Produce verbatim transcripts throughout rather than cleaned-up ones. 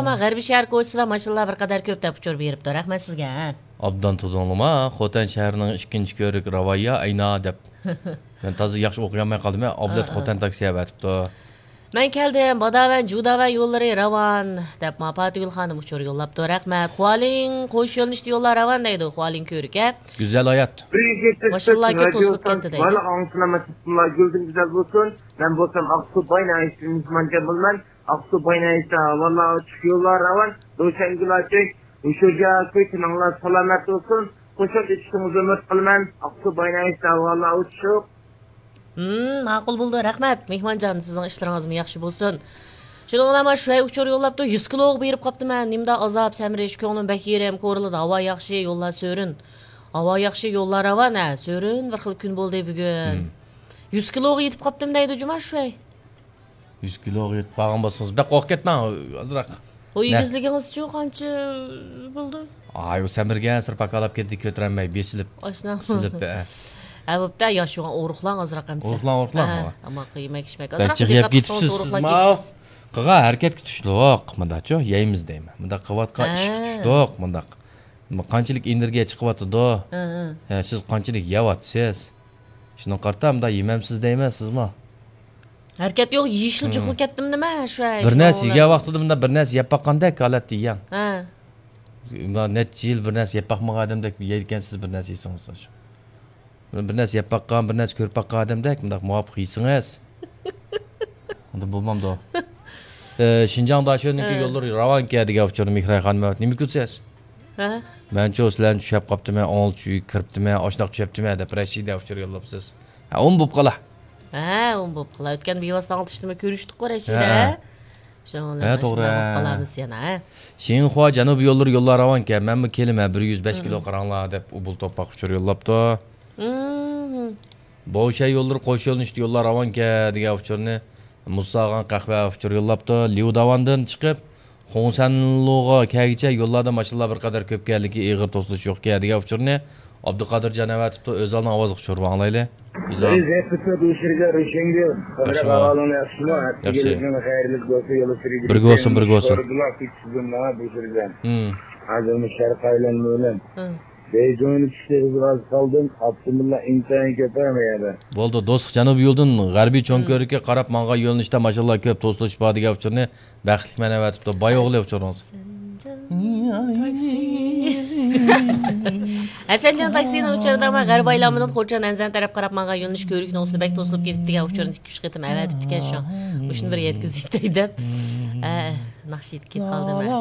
ئەمما غەربىي شەھەر كوچىسىدا ماشىنىلار بىر قەدەر كۆپ دەپ ئۇچۇر بېرىپتۇ. رەھمەت سىزگە. ئابدان تۇدۇڭلىما، خوتەن شەھىرىنىڭ ئىككىنچى كۆۋرۈك راۋاييا ئەينا دەپ. مەن تازا ياخشى ئوقۇيالماي قالدىم. ئابلەت ھە، ھە. خوتەن تاكسى ئەۋەتىپتۇ. مەن كەلدىم، باداۋەن، جۇداۋەن يوللىرى راۋان، دەپ ماپاتىگۈل خانىم ئۇچۇر يوللاپتۇ. رەھمەت. خۇالىڭ قوش يۆنىلىشتە يوللار راۋان دەيدۇ، خۇالىڭ كۆۋرۈكى. گۈزەل ھايات. ماشىنىلار كۆپ توسۇلۇپ كەتتى دەيدۇ. بارلىق ئاڭلىغۇچىلار مەسىلىسىنىڭ گۈلدىن گۈزەل بولسۇن. مەن بولسام ئاقسۇ باينايىشتىن مېھمانجان بولىمەن. ئاقسۇ باينايىشتا ھاۋالار ئاچىق، يوللار راۋان، روشەنگۈل ئاچىق، ھوشۇرجان كۆي، تېنىڭلار سالامەت بولسۇن. قوشاق ئېتىشىڭىزنى ئۈمىد قىلىمەن. ئاقسۇ باينايىشتا ھاۋالار ئوچۇق. ھىم، ماقۇل بولدى، رەھمەت. مېھمانجان، سىزنىڭ ئىشلىرىڭىزمۇ ياخشى بولسۇن. شۇنىڭ بىلەن مانا شۇ ئۇچۇر يوللاپتۇ، يۈز كىلوغا بېرىپ قاپتىمەن. نېمىدا ئازاب، سەمرىش، كۆڭلۈم بەك يېرىم، كورلىدا ھاۋا ياخشى، يوللار سۆرۈن. ھاۋا ياخشى، يوللار راۋان، ھە، سۆرۈن، بىر خىل كۈن بولدى بۈگۈن. ھىم. يۈز كىلوغا يېتىپ قاپتىم دەيدۇ جۇما شۇ. يۈز كىلوغا يېتىپ قالغان بولسىڭىز، بەك قورقۇپ كەتمەڭ، ئازراق. ئۇ نە؟ ئېگىزلىكىڭىزچۇ قانچە بولدى؟ ئاي، ئۇ سەمرىگەنسېرى پاكالاپ كەتتى، كۆتۈرەلمەي، بېسىلىپ. ئاشۇنداقمۇ؟ بېسىلىپ، ھە. ھە، بوپتۇ، ياش يوغان ئورۇقلاڭ ئازراق ئەمسە. ئورۇقلاڭ، ئورۇقلاڭ، ھە، ھە. ئەمما يېمەك ئىچمەك بەك ئازراق جىق يەپ دىققەت قىلسىڭىز كېتىپسىز ئورۇقلاپ سىزمۇ. كېتىسىز. قىلغان ھەرىكەتكە تۇشلۇق، مۇنداقچۇ، يەيمىز دەيمەن. مۇنداق قىلىۋاتقان ھە. ئىشقا تۇشلۇق، مۇنداق. قانچىلىك ئېنېرگىيە چىقىۋاتىدۇ. ھە، ھە. ھە، سىز قانچىلىك يەۋاتىسىز. شۇنىڭغا قارىتا مۇنداق يېمەمسىز دەيمەن، سىزمۇ. ھەرىكەت يوق، يېشىل ھىم. جىقىلىپ كەتتىم نېمە شۇ. بىر نەرسە يېگەن ۋاقتىدا مۇنداق بىر نەرسە يەپ باققاندەك ھالەتتە يەڭ. ھە. مۇنداق نەچچە يىل بىر نەرسە يەپ باقمىغان ئادەمدەك يەيدىكەنسىز بىر نەرسە يېسىڭىز. بىر نەرسە يەپ باققان، بىر نەرسە كۆرۈپ باققان ئادەمدەك مۇنداق مۇۋاپىق يېسىڭىز. ئۇنداق بولمامدۇ؟ ئە، شىنجاڭ داشۆنىڭكى ھە. يوللىرى راۋانكەن دېگەن ئۇچۇرنى مېھراي خانىم ئەۋەت. نېمە كۈلسىز؟ ھە؟ مەنچۇ سىلەرنى چۈشەپ قاپتىمەن، ئوڭلۇق چۈشۈپ كىرىپتىمەن، ئاشۇنداق چۈشەپتىمەن دەپ رەشىدە ئۇچۇر يوللاپسىز. ھە، ئۇمۇ بوپ قالا. ھە، ئۇمۇ بوپ قالا. ئۆتكەن بىۋاسىتە ئاڭلىتىشتىمۇ كۆرۈشتۇققۇ رەشىدە. ھە. شۇنىڭ بىلەن ھە، توغرا. بوپ قالارمىز يەنە، ھە؟ شىنخۇا جەنۇبىي يوللىرى يوللار راۋانكەن، مەنمۇ كېلىمەن، بىر يۈز بەش كىلو قاراڭلار دەپ ئۇبۇل توپاق ئۇچۇر يوللاپتۇ. مم. بوشەي يوللىرى قوش يۆنىلىشتە يوللار راۋانكەن دېگەن ئۇچۇرنى مۇساغان قەھۋە ئۇچۇر يوللاپتۇ. ليۇداۋاندىن چىقىپ، خۇڭسەنلۇغا كەلگۈچە يوللاردا ماشىنىلار بىر قەدەر كۆپكەن، لېكىن ئېغىر توسۇلۇش يوقكەن دېگەن ئۇچۇرنى ئابدۇقادىر جان ئەۋەتىپتۇ. ئۆزالنىڭ ئاۋازىغا ئۇچۇر ئاڭلايلى. ئۆزال. ياخشىمۇ؟ ياخشى. بىرگە بولسۇن، بىرگە بولسۇن. ھىم. ھازىر مۇشۇ شەرققە ئايلانما بىلەن. ھىم. بېيجىڭنى چۈشتە ئىزغاز قالدىم، ئاپتوموبىللار ئىنتايىن كۆپ ھە مۇ يەردە. بولدى، دوستلۇق جەنۇبىي يولدىن غەربىي چوڭ ھىم. كۆۋرۈككە قاراپ ماڭغان يۆنىلىشتە ماشىنىلار كۆپ، توسۇلۇش بار دېگەن ئۇچۇرنى بەختلىك مەن ئەۋەتىپتۇ. باي ئوغلى ئۇچۇرىڭىز. ھەسەنجان تاكسى. ھەسەنجان تاكسىنىڭ ئۇچۇرىدا مەن غەربىي ئايلانمىدىن خورچان ئەنزەن تەرەپ قاراپ ماڭغان يۆنىلىش كۆۋرۈكنىڭ ئۈستىدە بەك توسۇلۇپ كېتىپتۇ دېگەن ئۇچۇرنى ئىككى ئۈچ قېتىم ئەۋەتىپتىكەن شۇ. مۇشۇنى بىر يەتكۈزۈۋېتەي دەپ. ھە، ناخشا كېتىپ قالدىم ھە.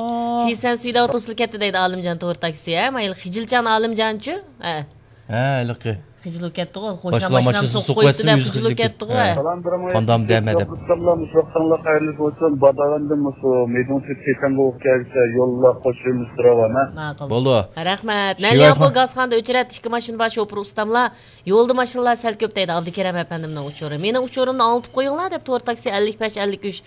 شىسەن سۈيداۋ توسۇلۇپ كەتتى دەيدۇ ئالىمجان تور تاكسى ھە. مايىل خىجىلچان ئالىمجانچۇ؟ ھە. ھە، ھېلىقى. خىجىل بولۇپ كەتتىغۇ. قوشنا ماشىنام سوقۇپ قويۇپتۇ دەپ خىجىل بولۇپ كەتتىغۇ. ھە. قاندام دەمە دەپ. مۇشۇ ۋاقتىڭلار قەيەرلىك بولسۇن، باداغەندىن مۇشۇ مەيدىڭ تۆت كېسەڭگە ئوخشاش يوللار قوشۇلمىسى راۋان ھە. ماقۇل. بولدى. رەھمەت. مەن ياقۇ گازخانىدا ئۆچرەت ئىككى ماشىنا بار، شوپۇر ئۇستاملار. يولدا ماشىنىلار سەل كۆپ دەيدۇ ئابدۇكېرەم ئەپەندىمنىڭ ئۇچۇرى. مېنىڭ ئۇچۇرۇمنى ئاڭلىتىپ قويۇڭلار دەپ تور تاكسى ئەللىك بەش ئەللىك ئۈچ.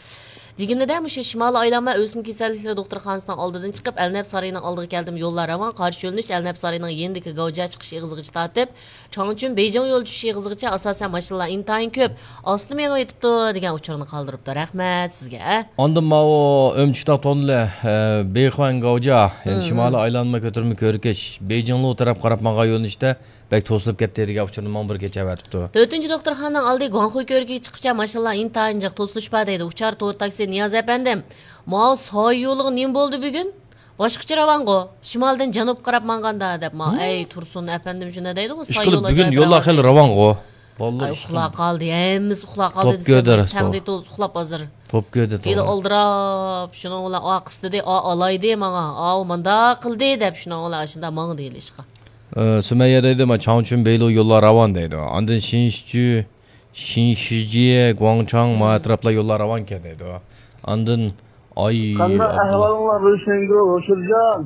دېگىنىدە مۇشۇ شىمالىي ئايلانما ئۆسمە كېسەللىكلىرى دوختۇرخانىسىنىڭ ئالدىدىن چىقىپ، ئەلنەپ سارىيىنىڭ ئالدىغا كەلدىم. يوللار راۋان، قارشى يۆنىلىش ئەلنەپ سارىيىنىڭ يېنىدىكى گاۋجا چىقىش ئېغىزىغىچە تارتىپ، چاڭچۈن بېيجىڭ يولى چۈشۈش ئېغىزىغىچە ئاساسەن ماشىنىلار ئىنتايىن كۆپ. ئاستا مېڭىۋېتىپتۇ دېگەن ئۇچۇرنى قالدۇرۇپتۇ. رەھمەت سىزگە. ئاندىن ماۋۇ ئۆمچۈتاق توننىلى، ئە، بېيخۇەن گاۋجا، يەنى شىمالىي ئايلانما كۆتۈرمە كۆۋرۈكى بېيجىڭلۇ تەرەپ قاراپ ماڭغان يۆنىلىشتە بەك توسۇلۇپ كەتتى دېگەن ئۇچۇرنى ماڭا بىر كېچە ئەۋەتىپتۇ. تۆتىنچى دوختۇرخانىنىڭ ئالدى گۇاڭخۇي كۆۋرۈكىگە چىققۇچە ماشىنىلار ئىنتايىن جىق، توسۇلۇش بار دەيدۇ. ئۇچار تور تاكسى نىياز ئەپەندىم. ماۋۇ سايە يولىغا نېمە بولدى بۈگۈن؟ باشقىچە راۋانغۇ. شىمالدىن جەنۇبقا قاراپ ماڭغاندا دەپ ماڭا. ھە؟ ئەي تۇرسۇن ئەپەندىم، شۇنداق دەيدىغۇ، سايە يولى بۈگۈن ئاجايىپ يوللار راۋان خېلى دەيدۇ. راۋانغۇ. ئاي، ئۇخلاپ قالدى، ھەممىسى ئۇخلاپ قالدى دېسەم، تەڭدە توز ئۇخلاپ ھازىر. توپ كۆردى، توغرا. ئالدىراپ، شۇنىڭ بىلەن ئا قىستىدى، ئا ئالايدى ماڭا، ئاۋۇ مانداق قىلدى دەپ شۇنىڭ بىلەن ئاشۇنداق ماڭدى ئىشقا. ئە، سۈمەييە دەيدۇ، ما چاڭچۈن بېيلۇ يوللار راۋان دەيدۇ. ئاندىن شىنشىچۈ، شىنشىجيې، گۇاڭچاڭ، ما ئەتراپلار يوللار راۋانكەن دەيدۇ. ئاندىن ئاي، قانداق ئابدۇللا. ئەھۋالىڭلار روشەنگۈل، ھوشۇرجان؟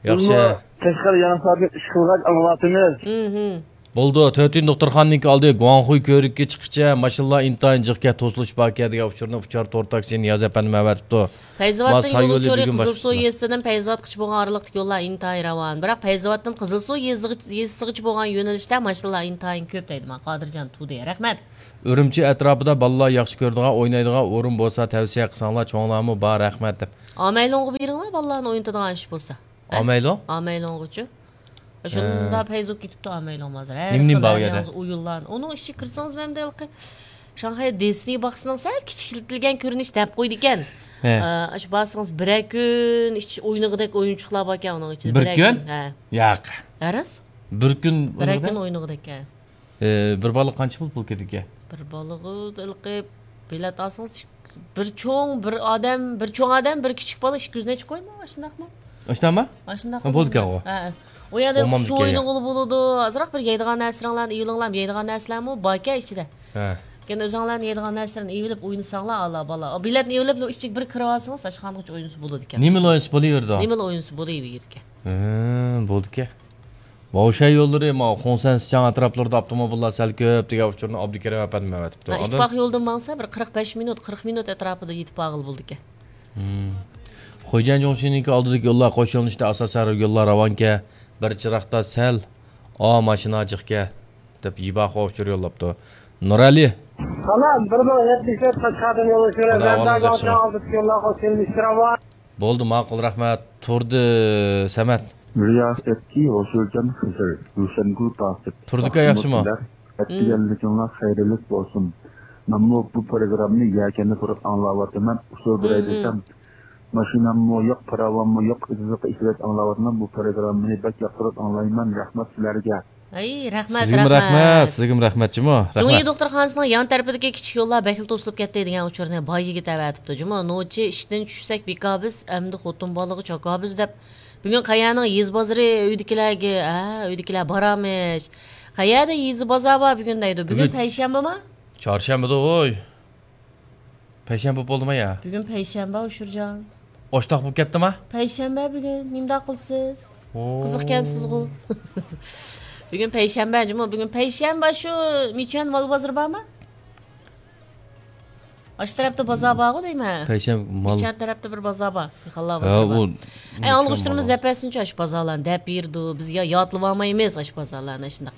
ياخشى. بىزمۇ قەشقەر يېڭىساردىن ئىش قىلغاچ ئاڭلاۋاتىمىز. ھىم، ھىم. بولدى، تۆتىنچى دوختۇرخانىنىڭكى ئالدى گۇاڭخۇي كۆۋرۈكى چىققىچە ماشىنىلار ئىنتايىن جىقكەن، توسۇلۇش باركەن دېگەن ئۇچۇرنى ئۇچار تور تاكسى نىياز ئەپەندىم ئەۋەتىپتۇ. پەيزاۋاتتىن يول ئۇچۇرى قىزىلسۇ يېزىسىدىن پەيزاۋاتقىچە بولغان ئارىلىقتىكى يوللار ئىنتايىن راۋان. بىراق پەيزاۋاتتىن قىزىلسۇ يېزىسىغىچە بولغان يۆنىلىشتە ماشىنىلار ئىنتايىن كۆپ دەيدۇ مانا قادىرجان تۇدى. رەھمەت. ئۈرۈمچى ئەتراپىدا بالىلار ياخشى كۆرىدىغان، ئوينايدىغان ئورۇن بولسا تەۋسىيە قىلساڭلار، چوڭلارمۇ بار، رەھمەت دەپ. ئامەيلۇڭغا بېرىڭلار، بالىلارنى ئوينىتىدىغان ئىش بولسا. ئامەيلۇڭ؟ ئامەيلۇڭغىچۇ؟ شۇنداق پەيزىپ كېتىپتۇ ئامەيلۇڭ ھازىر. ھەر نېمە نېمە خىل بار ئۇ يەردە؟ ئويۇنلار. ئۇنىڭ ئىچىگە كىرسىڭىز، مەن ھېلىقى شاڭخەي دىسنېي باغچىسىنىڭ سەل كىچىكلىتىلگەن كۆرۈنۈشى دەپ قويىدىكەن. ھە. ئا، شۇ بارسىڭىز بىرەر كۈن ئىچ-، ئوينىغۇدەك ئويۇنچۇقلار باركەن ئۇنىڭ ئىچىدە. بىر بىرەر كۈن؟ كۈن؟ ھە. ياق. ھە راست؟ بىر كۈن بىرەر ئوينىغۇدەك؟ كۈن ئوينىغۇدەك، ھە. ئى، بىر بالىغا قانچە پۇل، پۇل كېتىدىكەن؟ بىر بالىغا ھېلىقى بېلەت ئالسىڭىز، بىر چوڭ، بىر ئادەم، بىر چوڭ ئادەم، بىر كىچىك بالا، ئىككى يۈز نەچچە كويمۇ؟ ئاشۇنداقمۇ؟ ئاشۇنداقمۇ؟ ئاشۇنداق ھە، بولىدىكەنغۇ. ھە. ئۇ يەردە سۇ ئوينىغىلى بولىدۇ، ئازراق بىر يەيدىغان نەرسىلەرنى ئېلىۋېلىڭلار، يەيدىغان نەرسىلەرمۇ باركەن ئىچىدە. ھە. كېيىن ئۆزۈڭلارنى يەيدىغان نەرسىلەرنى ئېلىۋېلىپ ئوينىساڭلار، ئالا بالا. بېلەتنى ئېلىۋېلىپ، ئىچىگە بىر كىرىۋالسىڭىز، ئاشخانىغىچە ئوينىسا بولىدىكەن. نېمىلا ئوينىسا بولۇۋېرىدۇ. نېمىلا ئوينىسا بولۇۋېرىدىكەن. ھە، بولىدىكەن. ۋاۋشەن يوللىرى، ماۋۇ خۇڭسەن سىچاڭ ئەتراپلىرىدا ئاپتوموبىللار سەل كۆپ دېگەن ئۇچۇرنى ئابدۇكېرىم ئەپەندىم ئەۋەتىپتۇ. ھە، ئىتتىپاق يولىدىن ماڭسا، بىر قىرىق بەش مىنۇت، قىرىق مىنۇت ئەتراپىدا يېتىپ بارغىلى بولىدىكەن. ھىم. خوجەن جۇڭشىنىڭكى ئالدىدىكى يوللار قوش يۆنىلىشتە ئاساسەن يوللار راۋانكەن، بىر چىراغدا سەل، ئا، ماشىنا جىقكەن دەپ يىباخۇا ئۇچۇر يوللاپتۇ. نۇرئەلى. سالام، بىر مىڭ يەتمىش تۆت قەشقەردىن يول ئۇچۇرى. ئالدىدىكى يوللار قوش يۆنىلىشتە راۋان. بولدى، ماقۇل، رەھمەت. تۇردى سەمەت. رىياسەتچى ھوسۇلجان خىزىر، روشەنگۈل تاسىپ. تۇردى ئاكا، ياخشىمۇ؟ ئەتىگەنلىكىڭلار خەيرلىك بولسۇن. مەنمۇ بۇ پروگراممىنى يەكەندە تۇرۇپ ئاڭلاۋاتىمەن. ئۇسۇل بېرەي دېسەم، ماشىناممۇ يوق، پاراۋانمۇ يوق، ئىززىققا ئېسىۋېتىپ ئاڭلاۋاتىمەن. بۇ پروگراممىنى بەك ياقتۇرۇپ ئاڭلايمەن. رەھمەت سىلەرگە. ئەي، رەھمەت، سىزگىمۇ رەھمەت. رەھمەت، سىزگىمۇ رەھمەت جۇمۇ. جۇڭيى رەھمەت. دوختۇرخانىسىنىڭ يان تەرىپىدىكى كىچىك يوللار بەكلا توسۇلۇپ كەتتى دېگەن ئۇچۇرنى باي يىگىت ئەۋەتىپتۇ جۇمۇ. نوچى ئىشتىن چۈشسەك بىكاربىز، ئەمدى خوتۇن بالىغا چاكاربىز دەپ. بۈگۈن قەيەرنىڭ يېزا بازىرى ئۆيدىكىلەرگە، ھە، ئۆيدىكىلەر بارامىش. قەيەردە يېزا بازار بار بۈگۈن دەيدۇ. بۈگۈن بۈگۈن پەيشەنبىما؟ چارشەنبىدە، ھوي. پەيشەنبە بولدىما يا؟ بۈگۈن پەيشەنبە، ئۇشۇرجان. ئوشتاق بولۇپ كەتتىما؟ پەيشەنبە بۈگۈن. نېمىنداق قىلىسىز؟ ئو. قىزىقكەنسىزغۇ. بۈگۈن پەيشەنبە جۇمۇ. بۈگۈن پەيشەنبە شۇ مىچۈەن مال بازىرى بارمۇ؟ ئاشۇ تەرەپتە بازار بارغۇ دەيمەن. پەيشەنبە مال. مىچۈەن تەرەپتە بىر بازار بار. خەللا بازار بار. ئەي، ئاڭلىغۇچىلىرىمىز دەپ بەرسىنچۇ، ئاشۇ بازارلارنى دەپ بېرىدۇ. بىز يا-، يادلىۋالمايمىز ئاشۇ بازارلارنى، ئاشۇنداق.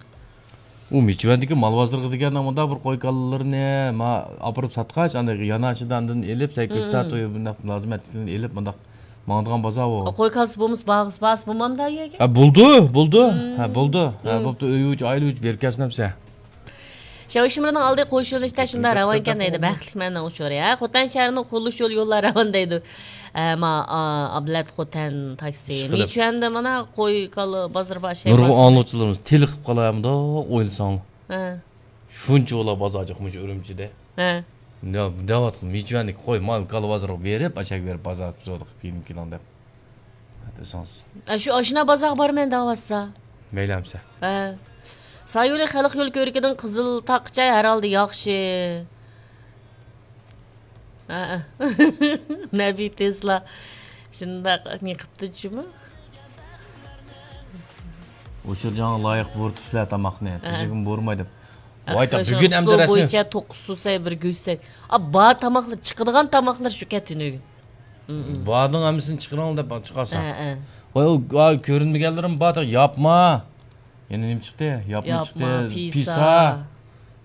ئۇ مىچۈەندىكى مال بازىرىغا دېگەن مۇنداق بىر قوي كالىلىرىنى ما ئاپىرىپ ساتقاچ، ئاندىن يانا ئىچىدە ئاندىن ئېلىپ، سەي كۆكتات، مم، تويۇ بۇنداق لازىمەتلىكلىرىنى ئېلىپ، مۇنداق ماڭىدىغان بازار ئۇ. قوي كالىسى بولمىسا، باغىسى بارسا بولمامدۇ ئۇ يەرگە؟ ھە، بولدى، بولدى. مم. ھە، بولدى. ھە، مم، بوپتۇ، ئۆي ئۈچ، ئائىلە ئۈچ بېرىپ كەلسۇن ئەمسە. شياۋشىمىرنىڭ ئالدى قوش يۆنىلىشتە شۇنداق راۋانكەن دەيدۇ، بەختلىك مەننىڭ ئۇچۇرى. ھە، خوتەن شەھىرىنىڭ قۇرۇلۇش يولى، يوللار راۋان دەيدۇ. ئە، ما، ئا، ئابلەت خوتەن تاكسى. ئىشقىلىپ. مىچۈەندە مانا قوي، كالا بازىرى بار، شەي نۇرغۇن بار. ئاڭلىغۇچىلىرىمىز تېلىقىپ قالايمىدۇ، ئويلىساڭلار. ھە. شۇنچە بولا بازار جىقمىش ئۈرۈمچىدە. ھە. يا، دەۋاتقىن، مىچۈەندىكى قوي، مال، كالا بازىرىغا بېرىپ، ئاشاق بېرىپ بازار تۇزۇقلۇق كىيىم كىلىڭ دەپ. دېسىڭىز. ئە، شۇ ئاشۇنا بازارغا بارىمەن دەۋاتسا. مەيلى ئەمسە. ھە. سايولى خەلق يول كۆۋرۈكىدىن قىزىل تاغقىچە ھەر ھالدا ياخشى. ھە. نەبى تېسلا. شۇنداق، نېمە قىپتۇ جۇمۇ؟ ئۇچۇرجانغا لايىق بۇرىتىپسىلەر تاماقنى. ھە. تۈزۈكمۇ بۇرىماي دەپ. ۋاي، تا، بۈگۈن ئەمدى رەسمىي بويىچە توققۇز سۇسەي، بىر گۆشسەي. ئا، بار تاماقلار، چىقىدىغان تاماقلار شۇ كەتتى نۆگۈن. بارنىڭ ھەممىسىنى چىقىرىڭ دەپ چىقارسا. ھە، ھە. ۋاي، ئۇ، ئا، كۆرۈنمىگەنلىرىم بار، ياپما. يەنە نېمە چىقتى؟ ياپما، ياپما، چىقتى، پىسا. پىسا.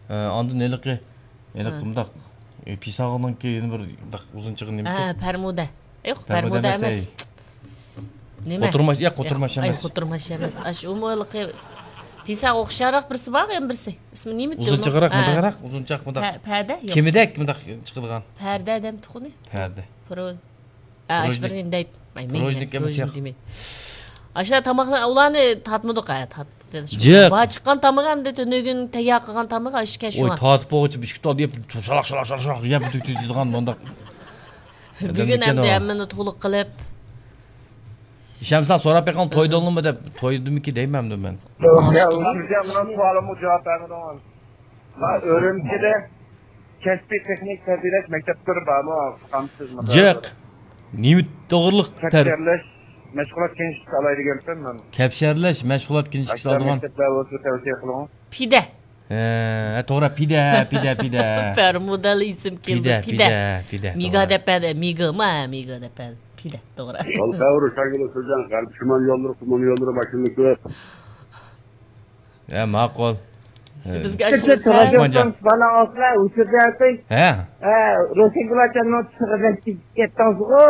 ھە، ئاندىن ھېلىقى، ھېلىقى ھە. مۇنداق، ئە، پىساغىنىڭكى يەنە بىر مۇنداق ئۇزۇن چىققان نېمە ھە، پەرمۇدە. يوق، پەرمۇدە، پەرمۇدە ئەمەس، ئەمەس. ئەي. نېمە؟ قوتۇرماش، ياق، قوتۇرماش ئەمەس. ئاي، قوتۇرماش ئەمەس. ئاشۇ ئۇمۇ ھېلىقى پىساغا ئوخشاراق بىرسى بار، يەنە بىرسى. ئىسمى نېمە؟ ئۇزۇنچىقراق، ھە. مۇنداقراق، ئۇزۇنچاق مۇنداق. پە-، پەدە؟ يوق. كېمىدەك مۇنداق چىقىدىغان. پەردە دەمتۇق ئۇنى. پەردە. پرو-، ئا، ئاشۇ بىر نېمە دەيت. ئاي، مەن پروژنىك ئەمەس، پروژنىك ياق. دېمەي. ئاشۇنداق تاماقلار، ئۇلارنى تارتمىدۇق، ھە، تارت-، جىق. بار چىققان تامىقى ئەمدى تۈنۈگۈن تەييار قىلغان تامىقى ئاشۇ ئىكەن شۇڭا. تارتىپ بولغۇچە ئىككى تال يەپ، شالاق، شالاق، شالاق، شالاق يەپ، تۈك، تۈك دەيدىغان مۇنداق. بۈگۈن ئەمدى ھەممىنى تولۇق قىلىپ. ئىشەنمىسەڭ سوراپ بېقىڭ، تويدۇڭلىمۇ دەپ، تويدىمىكى دەيمەن ئەمدى مەن. يا، ئۇزۇنجان، مانا سوئالىمغا جاۋاب بەرمىدىڭىز. ما ئۈرۈمچىدە كەسپىي تېخنىك تەربىيەلەش مەكتەپلىرى بارمۇ؟ قامسىز مۇنداق. جىق. نېمە توغرىلىق تەر- كەپشەرلەش، مەشغۇلات كىنىشكىسى ئالاي دېگەنتىم مەن. كەپشەرلەش، مەشغۇلات كىنىشكىسى ئاشۇنداق ئالىدىغان. مەكتەپلەر بولسا تەۋسىيە قىلىڭ. پىدە. ھە، توغرا، پىدە، پىدە، پىدە. بەرمۇدالا ئىسىم كېلىدۇ، پىدە، پىدە. پىدە، پىدە، مىگا توغرا. دەپ بەردى، مىگىما، مىگا دەپ بەردى. پىدە، توغرا. Алхаур شاگىلى سۆزەن، غەرب شىمال يوللىرى، قۇمۇل يوللىرى، ماشىنا كۆپ. ھە، ماقۇل. بىزگە ئاشۇ سەن. بالا ئالسىلا، ئۇچۇردى. ھە. ھە، روشەنگۈل ئاچامنىڭ تۇسىغا بەك كېتىپ كەتتىڭىزغۇ.